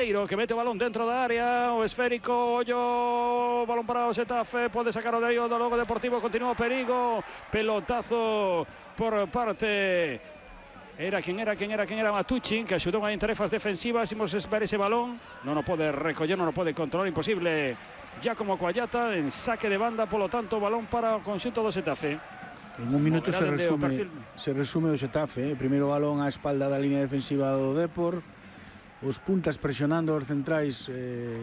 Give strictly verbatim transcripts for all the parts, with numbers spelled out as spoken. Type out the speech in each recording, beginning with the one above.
que mete o balón dentro da área, o esférico, ollo, balón para o Xetafe, pode sacar o de aí o do logo Deportivo, continúa o perigo, pelotazo por parte, era quen era, quen era, quen era Matucci, que axudou en tarefas defensivas, imos ver ese balón, non o pode recoller, non o pode controlar, imposible, Giacomo Coallata, en saque de banda, polo tanto, balón para o conxunto do Xetafe. En un minuto se resume, se resume o Xetafe, eh? Primeiro balón á espalda da línea defensiva do Depor, os puntas presionando os centrais eh,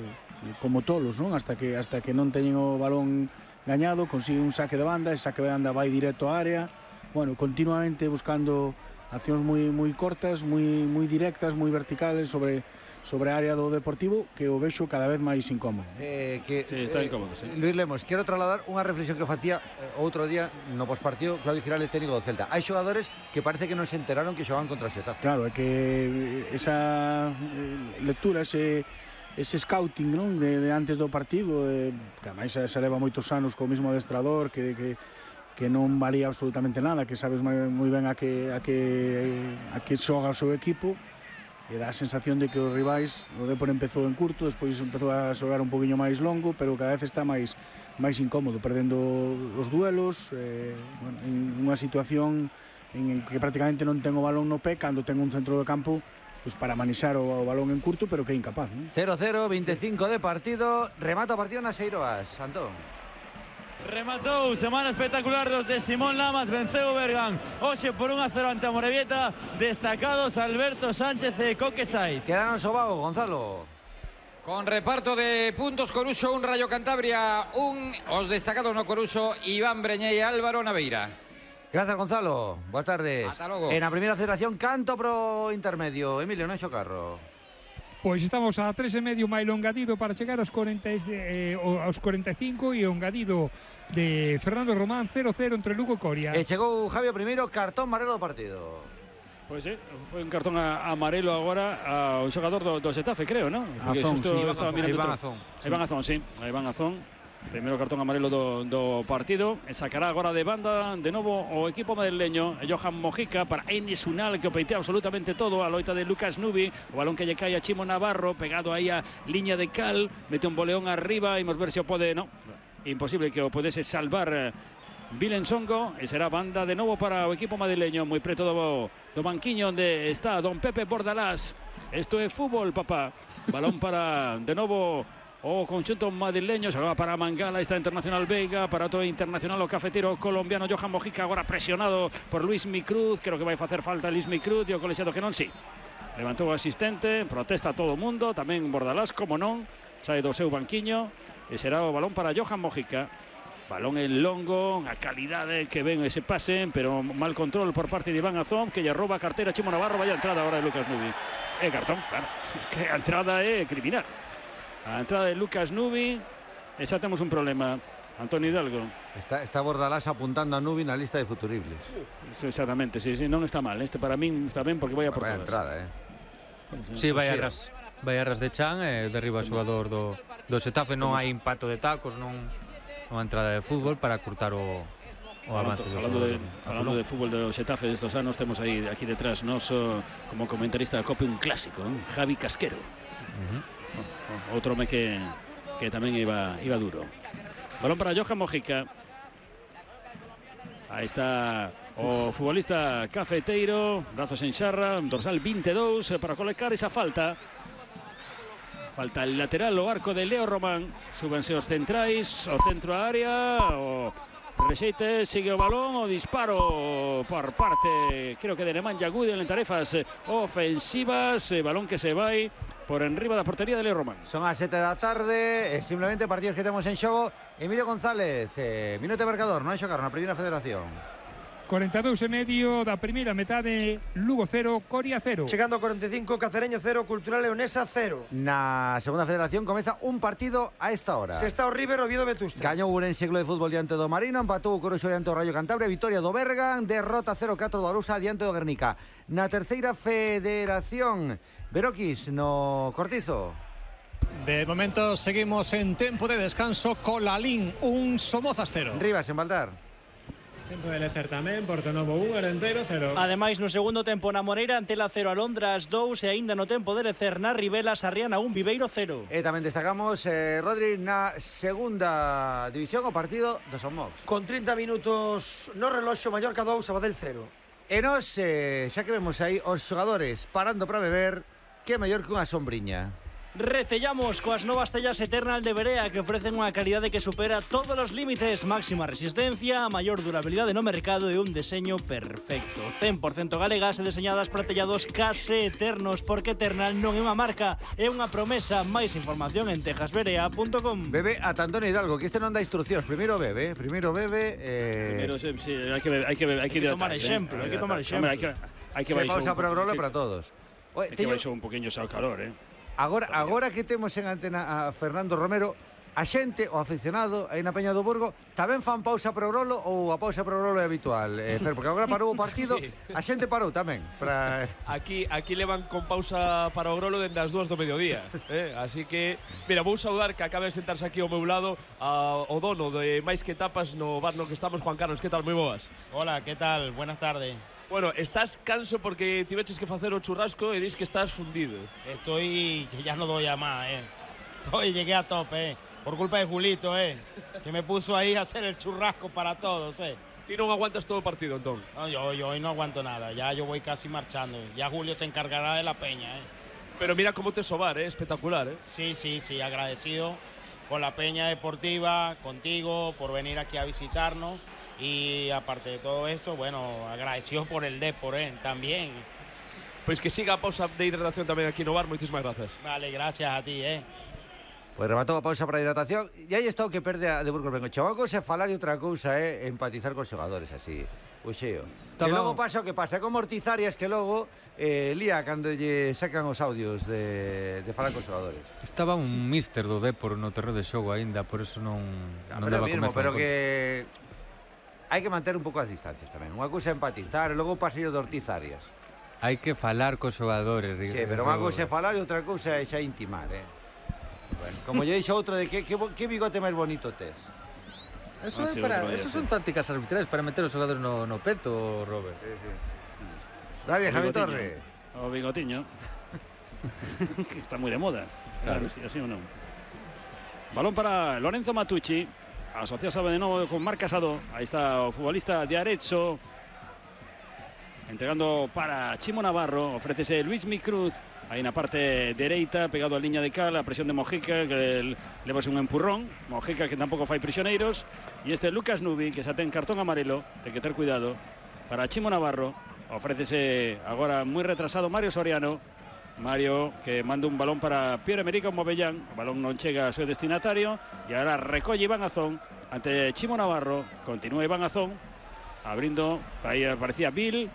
como tolos, non? Hasta que hasta que non teñen o balón gañado, consigue un saque de banda, e saque de banda vai directo á área. Bueno, continuamente buscando accións moi moi cortas, moi moi directas, moi verticales sobre sobre a área do Deportivo, que o vexo cada vez máis incómodo. Eh, que, sí, está eh, incómodo, sí. Luis Lemos, quero trasladar unha reflexión que facía eh, outro día no pospartido Claudio Girales, técnico do Celta. Hai xogadores que parece que non se enteraron que xogaban contra o Xetafe. Claro, é que esa eh, lectura, ese ese scouting, non, de, de antes do partido, de, que ademais se, se leva moitos anos co mismo adestrador, que que que non valía absolutamente nada, que sabes moi, moi ben a que a que a que xoga o seu equipo. E dá a sensación de que os rivais, o Depor empezou en curto, despois empezou a xogar un poquinho máis longo, pero cada vez está máis máis incómodo, perdendo os duelos, eh, bueno, en unha situación en que prácticamente non ten o balón no pé, cando ten un centro do campo pues para manexar o, o balón en curto, pero que é incapaz, ¿no? cero cero, veinticinco de partido, remata o partido nas Eiroas, Antón. Rematou, semana espectacular dos de Simón Lamas, venceu o Bergan hoxe por un a cero ante a Morevieta, destacados Alberto Sánchez e Coque Saiz. Quedaron Sobao, Gonzalo. Con reparto de puntos, Coruxo un, Rayo Cantabria un, os destacados no Coruxo, Iván Breñé e Álvaro Naveira. Gracias, Gonzalo, boas tardes. Hasta logo. En a primeira federación, canto pro intermedio, Emilio Noxo Carro. Pois estamos a tres e medio máis o engadido para chegar aos, cuarenta, eh, aos cuarenta e cinco, e o engadido de Fernando Román cero cero entre Lugo e Coria. E chegou Javier primeiro, cartón amarelo do partido. Pois sí, foi un cartón amarelo agora ao xogador do, do Xetafe, creo, non? Porque Azón, xusto sí, estaba mirando Iván Azón. Iván Azón, sí, Iván Azón. Primeiro cartón amarelo do, do partido, e sacará agora de banda de novo o equipo madrileño, Johan Mojica para Enes Unal, que o peitea absolutamente todo, a loita de Lucas Nubi, o balón que lle cae a Chimo Navarro, pegado aí a liña de cal, mete un boleón arriba, imos ver se o pode, no, imposible que o podese salvar Vilen Songo, e será banda de novo para o equipo madrileño, moi preto do, do banquiño onde está don Pepe Bordalás. Isto é fútbol, papá. Balón para de novo o conxunto madrileño, xogaba para Mangala, está Internacional Veiga, para outro internacional o cafetero colombiano Johan Mojica, agora presionado por Luis Micruz, creo que vai facer falta Luis Micruz, e o colexiado que non, sí. Levantou o asistente, protesta todo o mundo, tamén Bordalás, como non, sae do seu banquiño, e será o balón para Johan Mojica. Balón en longo, a calidade que ven ese pase, pero mal control por parte de Iván Azón, que lle rouba a cartera a Chimo Navarro, vaya entrada agora de Lucas Nubi. É cartón, claro, es que a entrada é criminal. A entrada de Lucas Nubi, e xa temos un problema. Antonio Hidalgo. Está, está Bordalás apuntando a Nubi na lista de futuribles. Sí, exactamente, sí, sí, non está mal. Este para min está ben porque vai a por todas. Entrada, eh. Sí, vai a ras, vai a ras de Chan e derriba o xogador do, do Xetafe. Non hai impacto de tacos, non unha entrada de fútbol para curtar o, o avance. Falando, de, falando de fútbol do Xetafe destos anos, temos aí aquí detrás nos como comentarista da Copa un clásico, ¿eh? Javi Casquero. Uh-huh. Outro home que, que tamén iba, iba duro. Balón para Johan Mojica. Aí está o futbolista cafeteiro, brazos en xarra, dorsal vinte e dous para colocar esa falta. Falta el lateral, o arco de Leo Román. Súbense os centrais, o centro a área, o rexeite, sigue o balón, o disparo por parte, creo que de Nemanja Gudel en tarefas ofensivas, balón que se vai por enriba da portería de Leo Román. Son as sete da tarde, eh, simplemente partidos que temos en xogo. Emilio González, eh, minuto de marcador, non hai xogar na primeira federación. cuarenta e dous e medio da primeira metade, Lugo cero, Coria cero. Chegando a cuarenta e cinco, Cacereño cero, Cultural Leonesa cero. Na segunda federación comeza un partido a esta hora. Se está o River, Oviedo, Vetusta. Gañou Ourense Club de Fútbol diante do Marino, empatou o Coruxo diante do Rayo Cantabria, victoria do Bergan, derrota cero catro do Arousa diante do Guernica. Na terceira federación, Beroquis no Cortizo. De momento seguimos en tempo de descanso con Lalín, un Somozas cero. Rivas en Baldar. Tempo de Lecer tamén, Portonovo un, Arenteiro cero. Ademais, no segundo tempo na Moreira, Antela cero, Alondras dous, e aínda no tempo de Lecer na Ribela, Sarriana un, Viveiro cero. E tamén destacamos, eh, Rodri, na segunda división o partido do Son Mox. Con trinta minutos no reloxo, Mallorca dous, Sabadell cero. E nos, eh, xa que vemos aí os xogadores parando para beber, que mellor que unha sombriña. Retellamos coas novas tellas Eternal de Berea, que ofrecen unha calidade que supera todos os límites, máxima resistencia, maior durabilidade no mercado e un deseño perfecto. cen por cento galegas e deseñadas para tellados case eternos, porque Eternal non é unha marca, é unha promesa. Máis información en texas berea punto com. Bebe a Antonio Hidalgo, que este non dá instruccións. Primeiro bebe, primeiro bebe... Eh... Primeiro, sí, sí, hai que beber, hai que beber, hai que, hai que tomar exemplo, hai que tomar exemplo. Hai que, hai que baixar pausa para grolo para todos. Oye, hai que baixar un poquinho xa o calor, eh. Agora, agora que temos en antena a Fernando Romero, a xente, o aficionado aí na Peña do Burgo, tamén fan pausa para o grolo ou a pausa para o grolo é habitual? Eh, Fer, porque agora parou o partido, sí. A xente parou tamén. Para... Aquí aquí levan con pausa para o grolo dende as dúas do mediodía. Eh? Así que, mira, vou saudar que acabe de sentarse aquí ao meu lado a, o dono de Máis que Tapas no bar no que estamos, Juan Carlos. Que tal? Moi boas. Hola, que tal? Buenas tardes. Bueno, estás canso porque tiveches que facer o churrasco e dis que estás fundido. Estoy, que ya no doy a más, eh. Estoy, llegué a tope, eh. Por culpa de Julito, eh. Que me puso ahí a hacer el churrasco para todos, eh. Ti non aguantas todo o partido, entón? No, yo, yo hoy no aguanto nada. Ya yo voy casi marchando. Ya Julio se encargará de la peña, eh. Pero mira cómo te sobar, eh. Espectacular, eh. Sí, sí, sí. Agradecido con la peña deportiva, contigo, por venir aquí a visitarnos. Y aparte de todo esto, bueno, agradecido por el Depor, eh, también. Pois que siga a pausa de hidratación tamén aquí no bar, moitísimas grazas. Vale, gracias a ti, eh. Pois rematou a pausa para a hidratación. E aí está o que perde a de Burgos Bengochea. Unha cousa é falar e outra cousa é empatizar cos xogadores, así, o xeo. Que logo pasa o que pasa, é como Ortizarias que logo eh, lía cando lle sacan os audios de, de falar cos xogadores. Estaba un míster do Depor no terreno de xogo aínda, por eso non, no, non pero daba mismo, comezo. Pero que... hai que manter un pouco as distancias tamén. Unha cousa é empatizar, e logo o pasillo de Ortizarias. Hai que falar cos xogadores. Sí, pero unha cousa é falar e outra cousa é xa intimar, eh. Bueno, como lle dixo outro de que, que, que bigote máis bonito tes. Eso, ah, sí, para, eso son tácticas arbitrales para meter os xogadores no, no peto, Robert. Sí, sí. Dale, Javi Torre. O bigotiño. Que está moi de moda. Claro, claro, así ou non. Balón para Lorenzo Matucci. Asociado de novo con Marc Casado. Aí está o futbolista de Arezzo. Entregando para Chimo Navarro. Ofrécese Luis Micruz. Aí na parte dereita, pegado a liña de cal, a presión de Mojica, que levase un empurrón. Mojica que tampouco fai prisioneiros. E este Lucas Nubi, que xa ten cartón amarelo. Ten que ter cuidado. Para Chimo Navarro. Ofrécese agora moi retrasado Mario Soriano. Mario que manda un balón para Pierre-Emerick Aubameyang. O balón non chega ao seu destinatario. E agora recolle Iván Azón ante Chimo Navarro. Continúa Iván Azón abrindo. Aí aparecía Bill.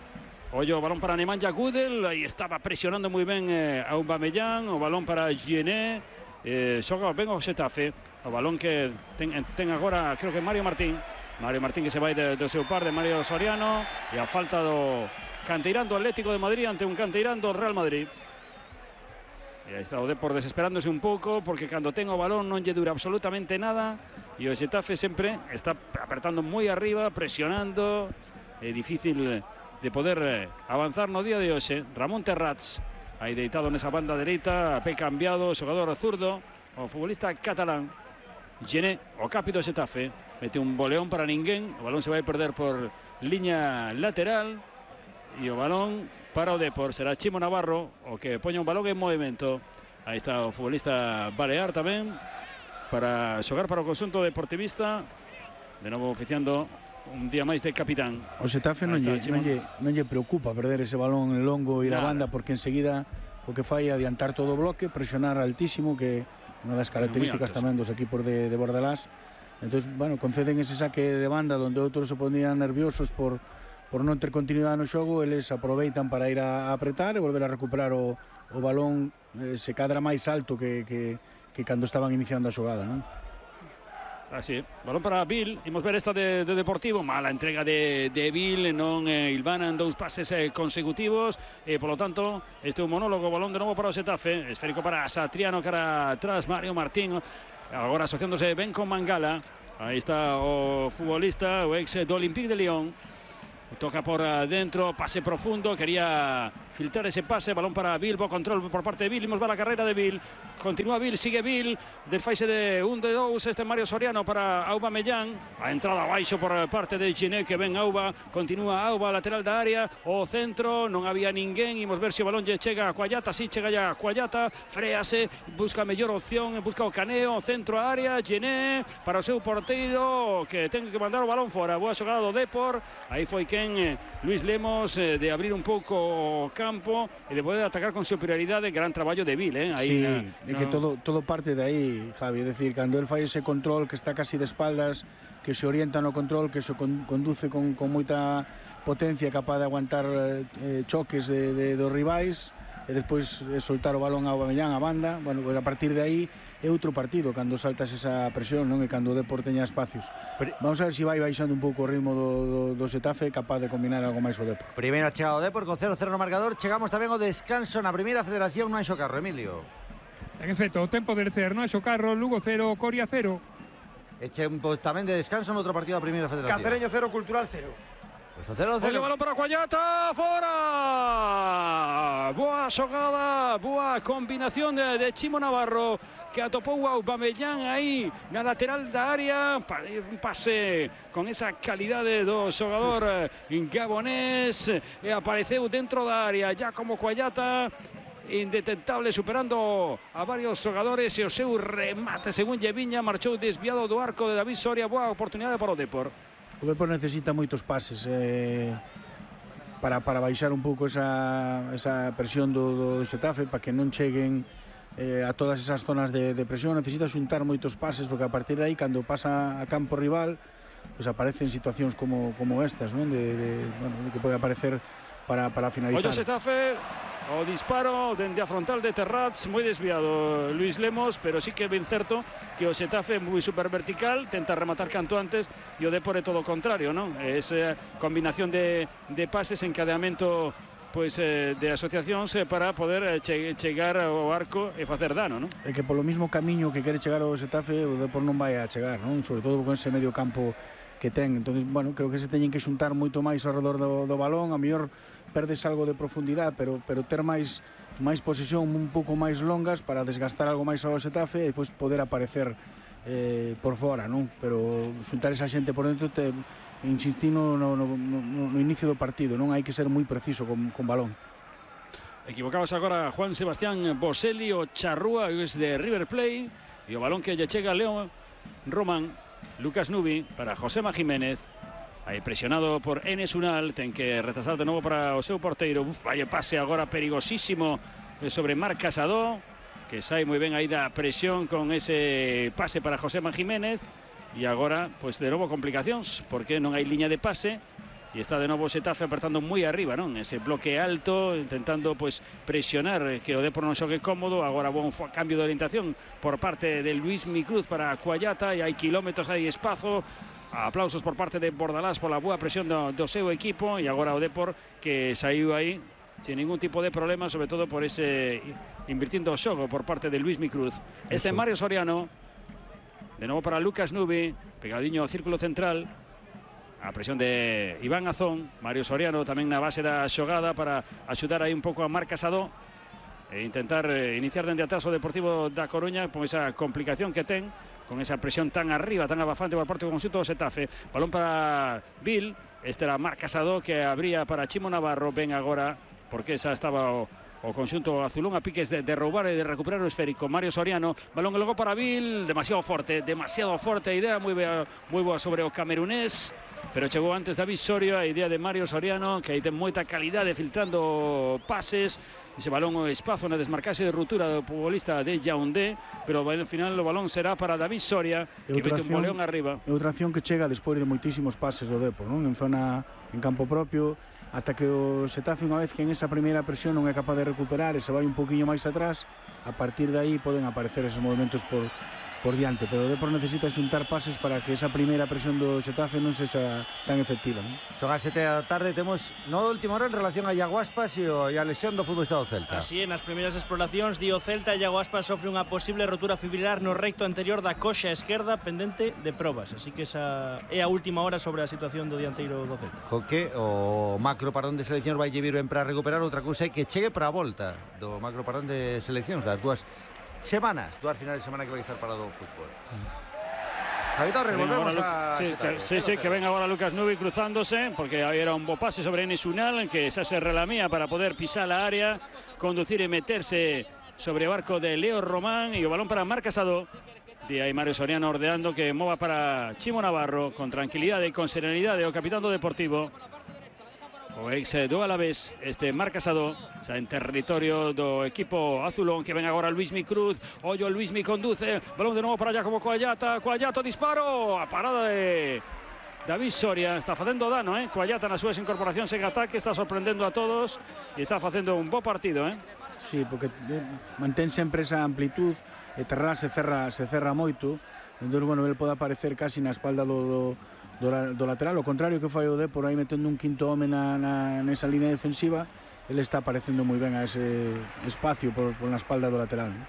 Ollo o balón para Nemanja Gudel. Aí estaba presionando moi ben eh, Aubameyang. O balón para Gené. Eh, xoga ben o Xetafe. O balón que ten, ten agora, creo que Mario Martín. Mario Martín que se vai do seu par de Mario Soriano. E a falta do canteirán do Atlético de Madrid ante un canteirán do Real Madrid. E aí está o Depor desesperándose un pouco, porque cando ten o balón non lle dura absolutamente nada, e o Xetafe sempre está apertando moi arriba, presionando. É difícil de poder avanzar no día de hoxe. Ramón Terrats aí deitado nesa banda dereita, a pé cambiado, o xogador zurdo, o futbolista catalán Gené, o capi do Xetafe, mete un boleón para ninguén. O balón se vai perder por liña lateral e o balón para o Depor será Chimo Navarro o que poña un balón en movimento. Aí está o futbolista Balear tamén para xogar para o conxunto deportivista. De novo oficiando un día máis de capitán. O Xetafe non lle, non, lle, non lle preocupa perder ese balón en longo e a banda, porque enseguida o que fai é adiantar todo o bloque, presionar altísimo, que é unha das características tamén dos equipos de, de Bordalás. Entón, bueno, conceden ese saque de banda onde outros se ponían nerviosos por por non ter continuidade no xogo. Eles aproveitan para ir a apretar e volver a recuperar o, o balón, eh, se cadra máis alto que, que, que cando estaban iniciando a xogada, non? Así, balón para Bill. Imos ver esta de, de Deportivo. Mala entrega de, de Bill, non eh, ilvanan dous pases eh, consecutivos, e polo tanto este é un monólogo. Balón de novo para o Xetafe, esférico para Satriano, cara atrás Mario Martín, agora asociándose ben con Mangala. Aí está o futbolista, o ex do Olympique de Lyon. Toca por dentro, pase profundo, quería filtrar ese pase, balón para Bill, bo control por parte de Bill, imos ver a carreira de Bill, continúa Bill, sigue Bill, desfaise de un de dous, este Mario Soriano para Aubameyang, a entrada abaixo por parte de Giné, que ven Auba, continúa Auba, lateral da área, o centro, non había ninguén, imos ver se o balón lle chega a Cuallata, si chega ya a Cuallata, frease, busca mellor opción, busca o caneo, centro a área, Giné, para o seu porteiro, que ten que mandar o balón fora, boa xogada do Depor, aí foi que Luis Lemos eh, de abrir un pouco o campo e de poder atacar con superioridade, gran traballo de Bill, eh? Aí sí, na, de no. que todo, todo parte de aí, Javi, é dicir, cando el fai ese control que está casi de espaldas, que se orienta no control, que se con, conduce con, con moita potencia, capaz de aguantar eh, choques de, de, dos rivais, e despois eh, soltar o balón a Aubameyang a banda, bueno, pues a partir de aí é outro partido cando saltas esa presión, non? E cando o Depor teña espacios. Pero, vamos a ver se si vai baixando un pouco o ritmo do, do, do Xetafe, capaz de combinar algo máis o Depor. Primeira chegada o Depor con cero cero no marcador. Chegamos tamén ao descanso na primeira federación no Anxo Carro, Emilio. En efecto, o tempo de lecer no Anxo Carro, Lugo cero, Coria cero. E tempo tamén de descanso no outro partido da primeira federación. Cacereño cero, Cultural cero. Pues o cero cero. Olha o balón para Cuallata, fora! Boa xogada, boa combinación de, de Chimo Navarro, que atopou a Aubameyang aí na lateral da área, un pase con esa calidade do xogador gabonés, e apareceu dentro da área, ya como Cuallata, indetectable, superando a varios xogadores, e o seu remate, según Lleviña, marchou desviado do arco de David Soria. Boa oportunidade para o Depor. O Depor necesita moitos pases eh, para, para baixar un pouco esa, esa presión do, do Xetafe, para que non cheguen eh, a todas esas zonas de, de presión. Necesita xuntar moitos pases, porque a partir de aí, cando pasa a campo rival, pues aparecen situacións como, como estas, non? De, de, bueno, que pode aparecer para, para finalizar. Ollo Xetafe, o disparo dende a frontal de Terrats, moi desviado Luis Lemos, pero sí que é ben certo que o Xetafe moi super vertical, tenta rematar canto antes, e o Depor é todo o contrario, non? Esa combinación de, de pases, encadeamento pois eh, de asociacións eh, para poder che, chegar ao arco e facer dano, non? É que polo mismo camiño que quere chegar ao Xetafe, o Depor non vai a chegar, non? Sobre todo con ese medio campo que ten. Entonces, bueno, creo que se teñen que xuntar moito máis ao redor do, do balón, a mellor perdes algo de profundidade, pero, pero ter máis máis posesión un pouco máis longas para desgastar algo máis ao Xetafe e depois poder aparecer eh, por fora, non? Pero xuntar esa xente por dentro, te insistí no, no, no, no inicio do partido, non? Hai que ser moi preciso con, con balón. Equivocabas agora Juan Sebastián Boselli, o charrúa es de River Plate, e o balón que lle chega a León Román. Lucas Nubi para Josema Jiménez, aí presionado por Enes Unal, ten que retrasar de novo para o seu porteiro. Uf, vaya pase agora perigosísimo sobre Marc Casado, que sai moi ben aí da presión con ese pase para Josema Jiménez. E agora, pois de novo complicacións, porque non hai liña de pase, e está de novo Xetafe apertando moi arriba, non? Ese bloque alto, intentando pois presionar que o Depor non xogue cómodo. Agora bon cambio de orientación por parte de Luis Micruz para Cuallata, e hai kilómetros, hai espazo. Aplausos por parte de Bordalás por la boa presión do, do seu equipo, e agora o Depor que saiu aí sin ningún tipo de problema, sobre todo por ese invirtiendo o xogo por parte de Luis Micruz. Este é Mario Soriano, de novo para Lucas Nubi, pegadiño ao círculo central. A presión de Iván Azón, Mario Soriano tamén na base da xogada para axudar aí un pouco a Marc Casado e intentar eh, iniciar dende atrás o Deportivo da Coruña con esa complicación que ten, con esa presión tan arriba, tan abafante por parte do conxunto do Xetafe. Balón para Bill, este era Marc Casado que abría para Chimo Navarro. Ven agora, porque esa estaba o, o conxunto azulón a piques de, de roubar e de recuperar o esférico. Mario Soriano, balón logo para Bill, demasiado forte, demasiado forte a idea, moi boa, moi boa sobre o camerunés, pero chegou antes David Soria, a idea de Mario Soriano, que aí ten moita calidade filtrando pases. Ese balón o espazo na desmarcase de ruptura do futbolista de Yaoundé, pero ao final o balón será para David Soria, que mete un boleón arriba. É outra acción que chega despois de moitísimos pases do Depor, non? En zona, en campo propio, ata que o Xetafe, unha vez que en esa primeira presión non é capaz de recuperar e se vai un poquinho máis atrás, a partir de aí poden aparecer esos movimentos por, por diante, pero o Depor necesita xuntar pases para que esa primeira presión do Xetafe non sexa tan efectiva, non? Son as sete da tarde, temos no última hora en relación a Iago Aspas e a lesión do futbolista do Celta. Así, nas primeiras exploracións, di o Celta, Iago Aspas sofre unha posible rotura fibrilar no recto anterior da coxa esquerda pendente de probas, así que esa é a última hora sobre a situación do dianteiro do Celta. Co que o macro parón de seleccións vai vir ben para recuperar, outra cousa é que chegue para a volta do macro parón de seleccións, das dúas semanas, dúas finales de semana que vai estar parado o fútbol. Javi Torres, volvemos a... Sí, que, sí, sí, que ven agora Lucas Nubi cruzándose, porque aí era un bo pase sobre Enes Unal, que xa se relamía para poder pisar a área, conducir e meterse sobre o arco de Leo Román, e o balón para Marc Casado. Di aí Mario Soriano ordeando que mova para Chimo Navarro, con tranquilidade e con serenidade, o capitán do Deportivo. O ex do Alavés, este Marc Casado, xa en territorio do equipo azulón, que ven agora Luismi Cruz. Ollo, Luismi conduce, balón de novo para Jacobo Coagliata, Coagliata, disparo, a parada de David Soria, está facendo dano, eh? Coagliata nas súas incorporacións en ataque, está sorprendendo a todos e está facendo un bo partido, eh? Sí, porque mantén sempre esa amplitud, e Terrá se cerra, se cerra moito, entón, bueno, ele pode aparecer casi na espalda do, do Do, do lateral, o contrario que fai o Depor aí metendo un quinto home na, na, nesa línea defensiva, ele está aparecendo moi ben a ese espacio por, por na espalda do lateral, ¿no?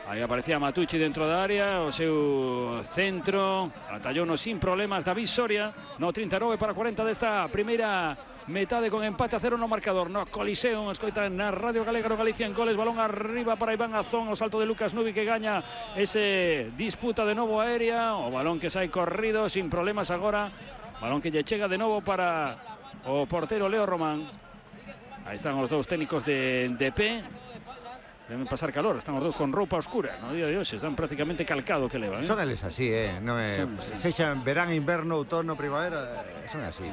Aí aparecía Matucci dentro da área, o seu centro, atallouno sin problemas David Soria, no trinta e nove para cuarenta desta primeira metade, con empate a cero no marcador no Coliseo. Escoita na Radio Galega no Galicia en Goles, balón arriba para Iván Azón, o salto de Lucas Nubi que gaña ese disputa de novo aérea, o balón que sai corrido sin problemas agora, balón que lle chega de novo para o portero Leo Román. Aí están os dous técnicos de D P, deben pasar calor, están os dous con roupa oscura no día de hoxe, están prácticamente calcado que levan, eh? Son eles así, eh? Non é, sexan verán, inverno, outono, primavera, son así.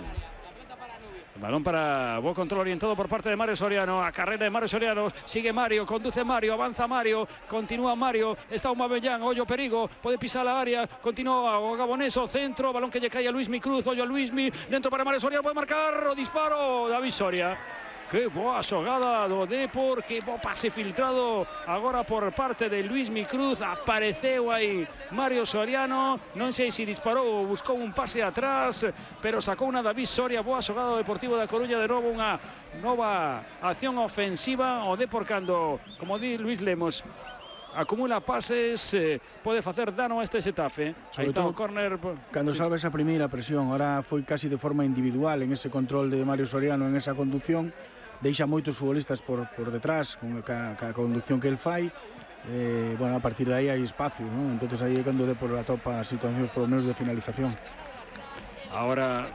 Balón para bo control orientado por parte de Mario Soriano, a carrera de Mario Soriano, sigue Mario, conduce Mario, avanza Mario, continúa Mario, está un Mabellán, ollo perigo, pode pisar a área, continúa o Gaboneso, centro, balón que lle cae a Luismi Cruz, ollo a Luismi, dentro para Mario Soriano, pode marcar, o disparo, David Soria. Que boa xogada do Depor, que bo pase filtrado agora por parte de Luismi Cruz, apareceu aí Mario Soriano, non sei se disparou ou buscou un pase atrás, pero sacou unha David Soria, boa xogada do Deportivo da Coruña, de novo unha nova acción ofensiva, o Depor cando, como di Luis Lemos, acumula pases, eh, pode facer dano a este Xetafe. Aí está o córner. Cando salva esa primeira presión, ahora foi casi de forma individual en ese control de Mario Soriano, en esa conducción, deixa moitos futbolistas por, por detrás con a, ca conducción que el fai, eh, bueno, a partir de aí hai espacio, ¿no? Entonces aí é cando Depor atopa situacións por lo menos de finalización. Ahora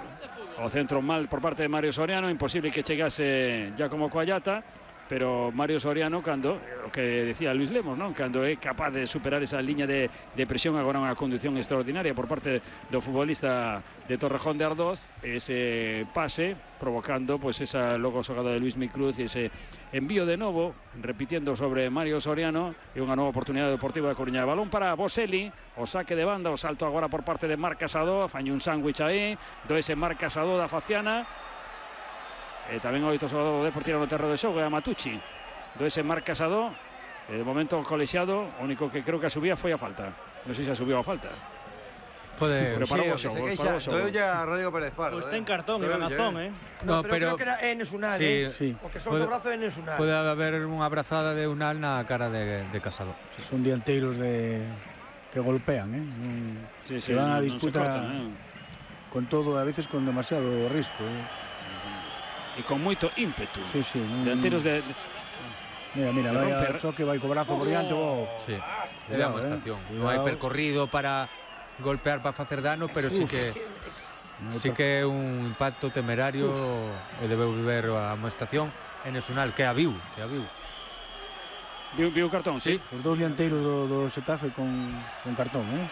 o centro mal por parte de Mario Soriano, imposible que chegase Giacomo Coagliata, pero Mario Soriano, cando, o que decía Luis Lemos, non? Cando é capaz de superar esa liña de, de presión, agora unha conducción extraordinaria por parte do futbolista de Torrejón de Ardoz, ese pase provocando pues esa logo xogada de Luismi Cruz e ese envío de novo, repitiendo sobre Mario Soriano, e unha nova oportunidade deportiva de Coruña. Balón para Boselli, o saque de banda, o salto agora por parte de Marc Casado, faño un sándwich aí, do ese Marc Casado da Faciana. E tamén oito xogador do Depor tira no terreno de xogo, é a Matucci do ese Marc Casado, e de momento colexiado, o único que creo que a subía foi a falta, non sei se a subiu a falta. Pode, pero parou o sí, xogo, parou o xogo. Doeu ya a Rodrigo Pérez Pardo. Pois ten cartón, Iván Azón, eh. No, no, pero, pero creo que era Enes Unal, sí, eh. Sí. Porque son do brazo de Enes Unal. Pode haber unha abrazada de Unal na cara de, de Casado. Sí. Son dianteiros de que golpean, eh. Sí, sí, que van no, a disputa no cortan, eh. con todo, a veces con demasiado risco, eh. E con moito ímpetu. Sí, sí. Delanteros de... Mira, mira, vai a choque, vai co brazo por diante. Oh. Sí, le dá unha estación. Non hai percorrido para golpear, para facer dano, pero sí que sí que é un impacto temerario. Uf. E debeu viver a amonestación en Esunal, que a viu, que a viu. Viu, viu cartón, sí. Os dous dianteiros do, do Xetafe con, con cartón, eh.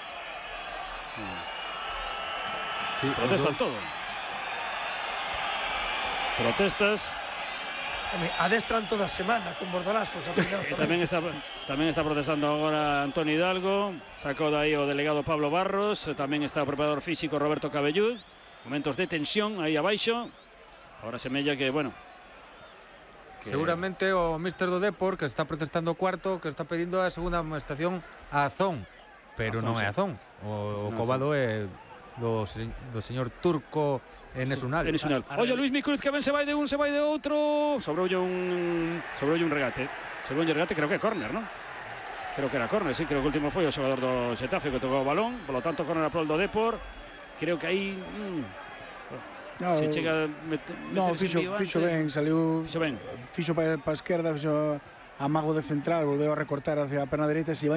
Sí, protestan todo. Protestas. Adestran toda a semana con bordalazos. E tamén está tamén está protestando agora Antoni Hidalgo, sacou dai o delegado Pablo Barros, tamén está o preparador físico Roberto Cabellud. Momentos de tensión aí abaixo. Agora semella que, bueno, que... seguramente o míster do Depor, que está protestando o cuarto, que está pedindo a segunda amonestación a Azón, pero Azón, non é sí. Azón. O, o Non, cobado é do, se- do señor Turco Enesunal. Enesunal. Oye, Luis Micruz que ben se vai de un, se vai de outro. Sobroulle un sobroulle un regate. Sobroulle un regate, creo que é córner, non? Creo que era córner, sí, creo que o último foi o xogador do Xetafe que tocou o balón, polo tanto córner a prol do Depor. Creo que aí mm, No, se chega a met No, meterse fixo, en vío fixo antes. ben, saliu Fixo ben. Fixo para pa a esquerda, fixo a mago de central, volveu a recortar hacia a perna dereita, se vai